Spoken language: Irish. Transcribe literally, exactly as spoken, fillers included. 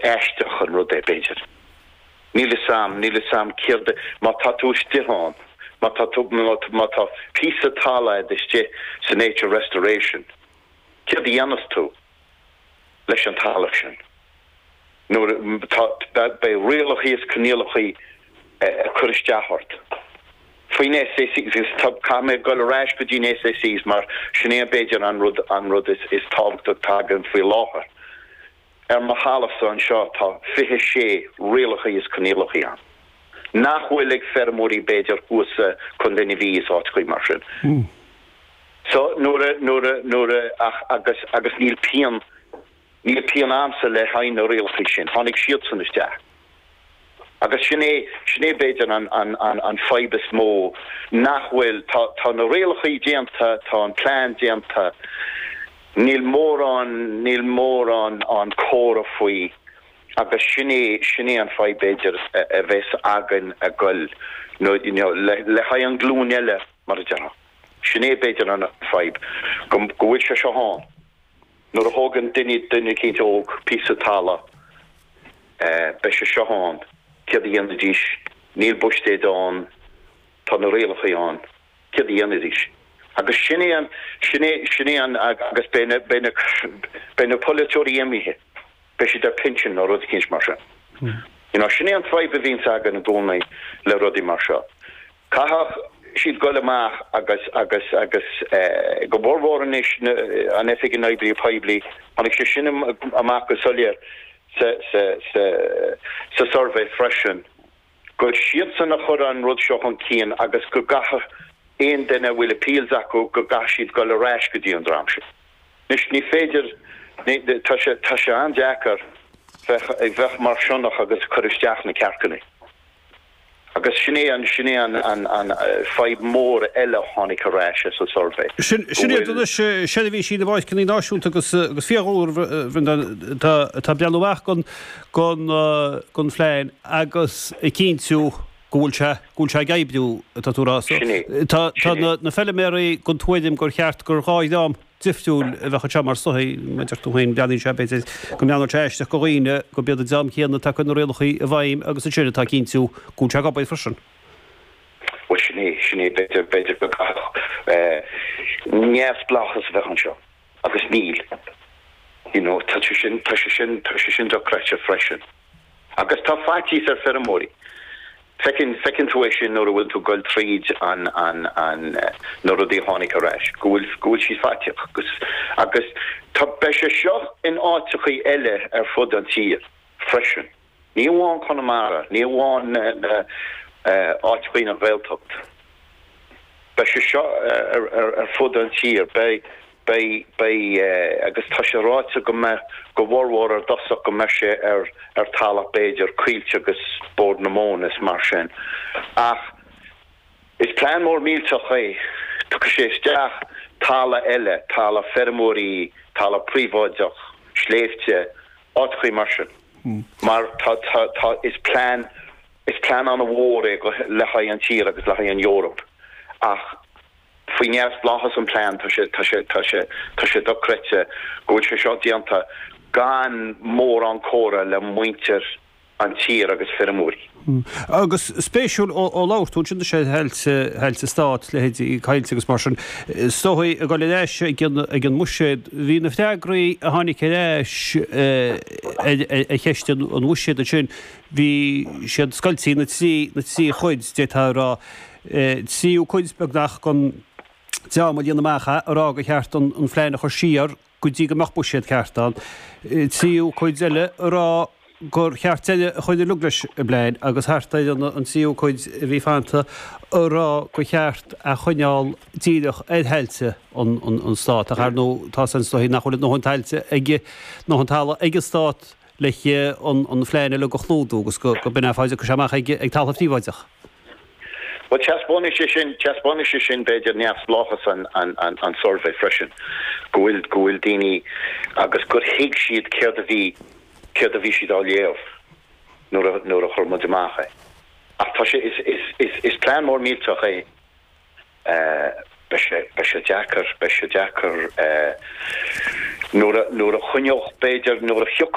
aisteach an rud é b'fhéidir. Níl a fhios a'm, níl a fhios a'm céard má tá tú istigh ann, má tá tú má tá píosa talamh istigh sa nature restoration. Céard a dhéanfas tú leis an talamh sin? Nuair beidh rialacha is coinníollacha ag cur isteach ort. Faoin S A Cs caithfidh mé dul ar ais go dtí an S A Cs mar sin é b'fhéidir an rud an rud is is tábhachtach tagann faoi láthair. Ar mo thalamhsa anseo tá fiche sé rialacha is coinníollacha ann. Nach bhfuil ag feirmeoirí b'fhéidir thuas Contae na Mí is áiteacha mar sin. Mm. So nuair nuair nuair ach agus agus níl pian níl pian a'msa le haghaidh na rialacha sin, tháinig siadsan isteach. Agus sin é sin é b'fhéidir an an an an fadhb is mó nach bhfuil tá tá na rialacha déanta, tá an plean déanta, níl mórán níl mórán an comhrá faoi agus sin é sin é an fadhb b'fhéidir a bheas againn a goil no you know, le le haghaidh an glúin eile mar a déarfá. Sin é b'fhéidir an fadhb go go bhfuil sé seo ann. Nuair a thógann duine duine eicínt óg píosa talamh eh, beidh sé seo ann, céard a dhéanfaidís, níl buiséad ann, tá na rialacha ann, céard a dhéanfaidís. Agus sin é an sin é sin é an agus beidh na beidh na beidh na polaiteoirí imithe, beidh siad ar pinsean nó rud eicínt mar sin. You know, sin é an fadhb a bhíonns againn i gcónaí le rudaí mar seo. Caithfidh siad goil amach agus agus agus eh, go mórmhór anois an Oifig na nOibreacha Poiblí, tháinig sé sin amach go soiléir sa sa sa sa survey freisin. Go siadsan a chur an rud seo chun cinn agus go gcaithfidh aon duine a bhfuil appeals acu go gcaithfidh siad goil ar ais go dtí an dream sin. Anois ní féidir tá sé tá sé an-deacair bheith ag bheith mar sionnach agus cur isteach na cearcanna. Agus sin é an sin é an an an fadhb mór eile tháinig ar ais sa survey. Sin sin iad anois seirbhísí na bpáirceanna náisiúnta agus agus fiadhúlra tá tá breathnú amach gon gon gon phlean agus ag cinntiú go bhfuil sé go bhfuil sé ag oibriú atá tú a rá. So, Sin é. Tá tá Sin é. na na feilméaraí den tuairim gur cheart gur dhá dhream difriúil a bheadh anseo mar sochaí maidir tú féin breathnaíonn sé b'fhéidir go mbreathnódh sé aisteach go dhaoine go b'iad an dream céanna atá chun na rialacha i bhfeidhm agus ansin atá cinntiú go bhfuil sé ag obair freisin. Well sin é sin é b'fhéidir b'fhéidir go gcaithfeadh eh, neamhspleáchas a bheith anseo agus níl. You know, tá sé sin tá sé sin tá sé sin dochreidte freisin. Agus tá faitíos ar feirmeoirí. Feiceann feiceann tú é sin nuair a bhfuil tú goil tríd an an an eh, na rudaí a tháinig ar ais, go bhfuil go bhfuil siad faiteach agus agus tá beidh sé seo in áiteachaí eile ar fud an tír freisin. Ní amháin Conamara, ní amháin na na eh, áiteachaí na Gaeltacht. Beidh sé seo ar, ar, ar fud an tír, beidh beidh beidh eh, agus tá sé ráite go mbeidh go mhórmhór ar dtosach go mbeidh sé ar ar talamh b'fhéidir Coillte agus Bord na Móna is mar sin. Ach is plean mór millteach é Tugann sé isteach talamh eile, talamh feirmeoirí, talamh príobháideach, sléibhte, áiteachaí mar sin. Mar tá tá tá is plean is plean an-mhór é go le haghaidh an tír agus le haghaidh an Eoraip. Ach faoi neamhspleáchas an plean tá sé tá sé tá sé tá sé dochreidte go bhfuil sé seo déanta gan mórán comhrá le muintir an tír agus feirmeoirí. Agus spéisiúil ó ó labhair tú sin sé thailte thailte stát leithéidí Coillte agus mar sin stoí a go leis ag an ag an mbuiséad bhí na freagraí a tháinig ar ais a cheist an bhuiséad sin bhí siad scoilte na trí na trí chuid d'fhéadfá a rá tríú cuid beagnach den dream a líon amach a rá gur cheart an an phlean a chur siar go dtí go mbeadh buiséad ceart ann. Tríú cuid eile a rá gur cheart deireadh a chur leis an bplean agus thart ar an an tríú cuid a bhí fanta a rá gur cheart a choinneáil díreach ar thailte an an an stát ach ar ndóigh tá san stoí nach bhfuil dóthain tailte ag nó an talamh ag an stát le an an phlean eile go chlúdú agus go go b'in é fáide go amach ag ag talamh príobháideach. Well taispeánann sé sin taispeánann sé sin b'fhéidir neamhspleáchas an an an an survey freisin go bhfuil go bhfuil daoine agus gur thuig siad céard a bhí céard a bhí siad á léamh nuair a nuair a chuir muid amach é. Ach tá sé is is is is plean mór millteach é eh, beidh sé beidh sé deacair beidh sé deacair eh, nuair a nuair a choinneodh b'fhéidir nuair a thiocfadh